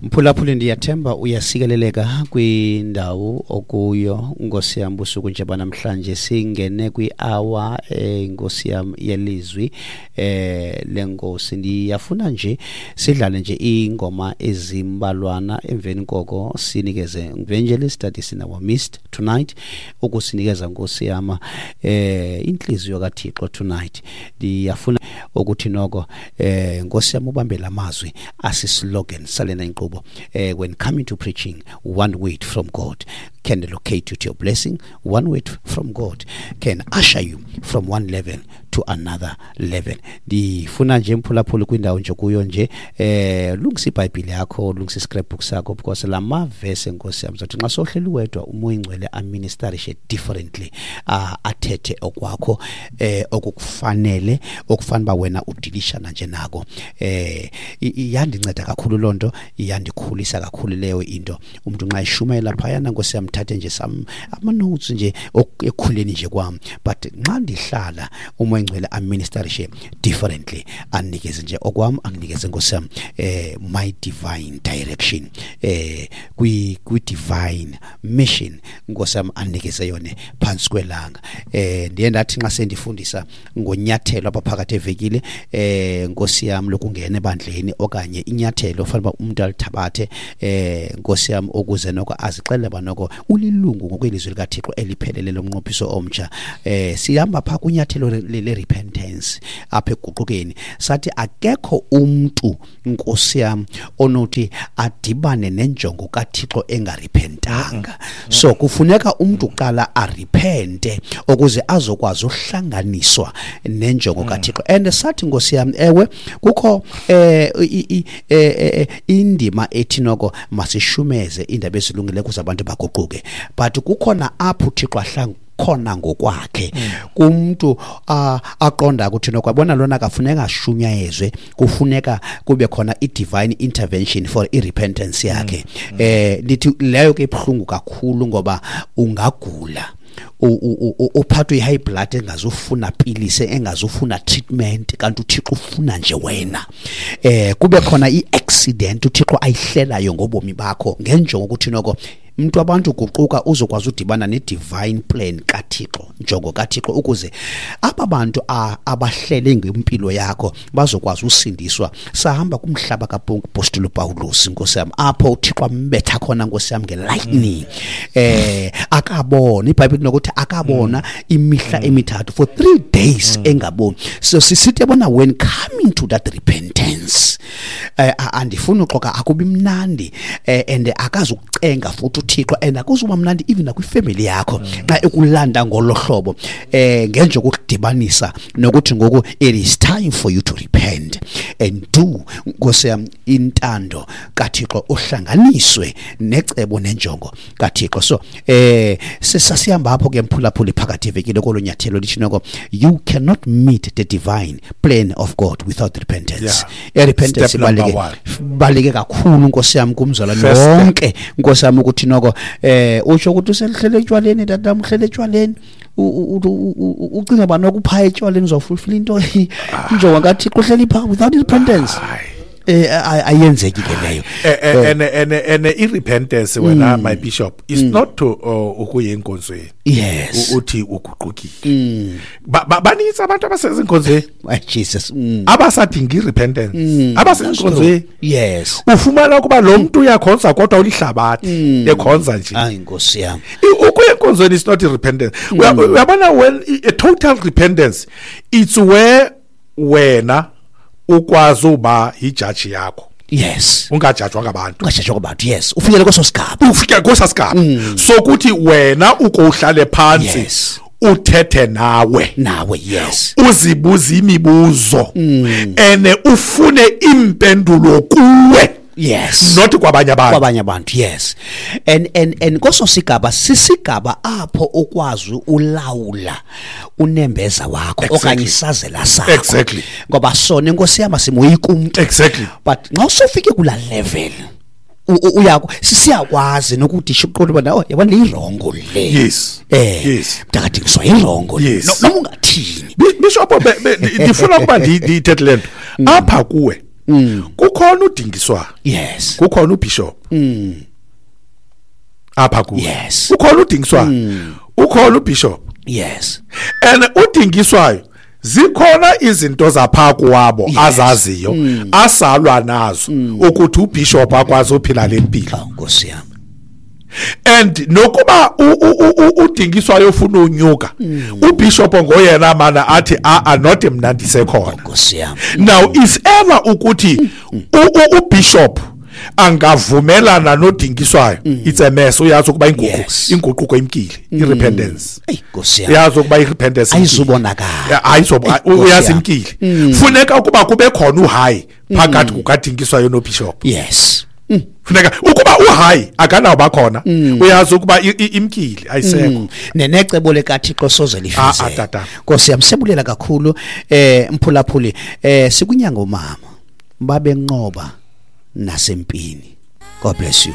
Mphulaphuli, ndiyathemba uyasikeleleka kwindawo okuyo, nkosi yam. Busuku nje banamhlanje singene kwi-hour, nkosi yam, yelizwi lenkosi. Ndiyafuna nje sidlale nje iingoma ezimbalwana, emveni koko sinikeze evangelist that is in our midst tonight ukusinikeza, nkosi yam, intliziyo kaThixo tonight. Ndiyafuna ukuthi noko, nkosi yam, ubambe lamazwi asislogan salena inkqubo: "When coming to preaching, one word from God can locate you to your blessing. One word from God can usher you from one level to another level." Ndifuna nje, mphulaphuli, kwindawo nje kuyo nje, lungisa iBhayibhile yakho, lungisa iscrapbook sakho, because la mavese, nkosi yam, zathi nxa sohleli wedwa, uMoya Ingcwele aministerishe differently, athethe okwakho okukufanele, okufanele uba wena udilishana nje nako. Iyandinceda kakhulu loo nto, iyandikhulisa kakhulu leyo into. Umntu nxa eshumayela phayana, nkosi yam, thathe nje some ama-notes nje ekukhuleni nje kwam, but nxa ndihlala, uMoya Ingcwele aministerishe differently, anikeze nje okwam, anginikeze, nkosi yam, my divine direction kwi divine mission, nkosi yam, anikeze yona phansi kwelanga. Ndiye ndathi nxa sendifundisa ngonyathelo apha phakathi evekile, nkosi yam, lokungena ebandleni okanye inyathelo ofanele uba umuntu alithabathe, nkosi yam, ukuze noko azixelele uba noko ulilungu ngokwelizwi likaThixo eliphelele lomnqophiso omtsha, sihamba phaa kwinyathelo le-repentance apha ekuguqukeni. Sathi akekho umntu, nkosi yam, onothi adibane nenjongo kaThixo engarepentanga. So kufuneka umntu kuqala arepente ukuze azokwazi uhlanganiswa nenjongo kaThixo. And sathi, nkosi yam, ewe, kukho indima ethi noko masishumeze iindaba ezilungileyo ukuze abantu baguquke, but kukhona apho uThixo ahlanga khona ngokwakhe kumntu, aqonda ukuthi noko yabona lona kafuneka ashunyayezwe, kufuneka kube khona i-divine intervention for i-repentance yakhe. Ndithi leyo ke ibuhlungu kakhulu, ngoba ungagula, uphathwe i-high blood engazufuna pilisi, engazufuna treatment, kanti uThixo ufuna nje wena. Kube khona i-accident uThixo ayihlelayo ngobomi bakho ngenjongo ukuthi noko mntu abantu guquka, uzokwazi udibana ne-divine plan kaThixo, njongo kaThixo, ukuze aba bantu abahlele ngempilo yakho bazokwazi usindiswa. Sahamba kumhlaba kaPostile Paulus, nkosi yam, apho uThixo ambetha khona, nkosi yam, ngelightning, akabona. IBhayibhile nokuthi akabona imihla emithathu, for 3 days engaboni. So sisithi yabona, when coming to that repentance, andifuni uxoka, akubi mnandi, and akazukucenga futhi uThixo, and akuzuba mnandi even nakwifamily yakho xa ekulanda ngolo hlobo, ngenjongo ukudibanisa nokuthi ngoku it is time for you to repent and do, nkosi yam, intando kaThixo, uhlanganiswe necebo nenjongo kaThixo. So sasihamba apho ke, mphulaphuli, phakathi evekile kolo nyathelo lithi noko you cannot meet the divine plan of God without repentance. I-repentance Step number ibaluleke one. Baluleke kakhulu, nkosi yam, kumzalwane First step. wonke, nkosi yam, ukuthi noko utsho ukuthi usehlele etywaleni, tatam, uhlele etywaleni, ucinga uba noko uphaya etywaleni uzawufulfila into injongo kaThixo, uhleli phaa without repentance. Ayenzeki ke leyo. And i-repentance wena, my bishop, is not to ukuya enkonzweni uthi uguqukile. Banintsi abantu abasezinkonzweni My Jesus. abasadinga i-repentance, abasenkonzweni. Ufumana ukuba lo mntu uyakhonza kodwa ulihlabathi, ekhonza nje. Hayi, nkosi yam. Ukuya enkonzweni is not i-repentance. Uyabona, when a total repentance, it's where wena ukwazi uba yijaji yakho, ungajajwa ngabantu. Ungajajwa kwabantu, yes, ufikele kweso sigaba. Ufike kweso sigaba sokuthi wena uko uhlale phansi, uthethe nawe, nawe, yes, uzibuze imibuzo ene ufune impendulo kuwe, not kwabanye abantu. Kwabanye abantu, yes. And kweso sigaba sisigaba apho ukwazi ulawula unembeza wakho okanye isazela sakho, ngoba sona, inkosi yam, simoyika umntu. But nxa usufike kula level, uyako sisiyakwazi nokuthi uqonde uba, oh, yabona, le iwrong le. Mntakadingiswa iwrong le. Noma ungathini. Bishop, ndifuna ukuba ndiyithethe le nto apha kuwe. Kukhona uDingiswayo. Kukhona ubishop. Apha kuwe. Kukhona uDingiswayo. Ukhona ubishop. And uDingiswayo zikhona izinto zapha kuwabo azaziyo asalwa nazo ukuthi ubishop akwazi uphila lempilo. Awu Nkosi yami. And nokuba uDingiswayo ufuna unyuka, ubishop ngoyena mana athi a not mna ndisekhona. Nkosi yami. Now if ever ukuthi ubishop angavumelana noDingiswayo, it's a mess. Uyazi ukuba inguquko imkile, irepentance. Ey Nkosi yami. Uyazi ukuba irepentance ayizubonakala. Ayizoba, Nkosi uyazi yami. imkile. Funeka ukuba kube khona uhayi phakathi kukaDingiswayo nobishop. Funeka ukuba uhayi akanawo bakhona, uyazi ukuba imkile ayisekho. Nenecebo likaThixo soze lifezeke. Tata. Nkosi yami, siyabulela kakhulu mphulaphuli. Sikunyanga umama babenqoba nasempini. God bless you.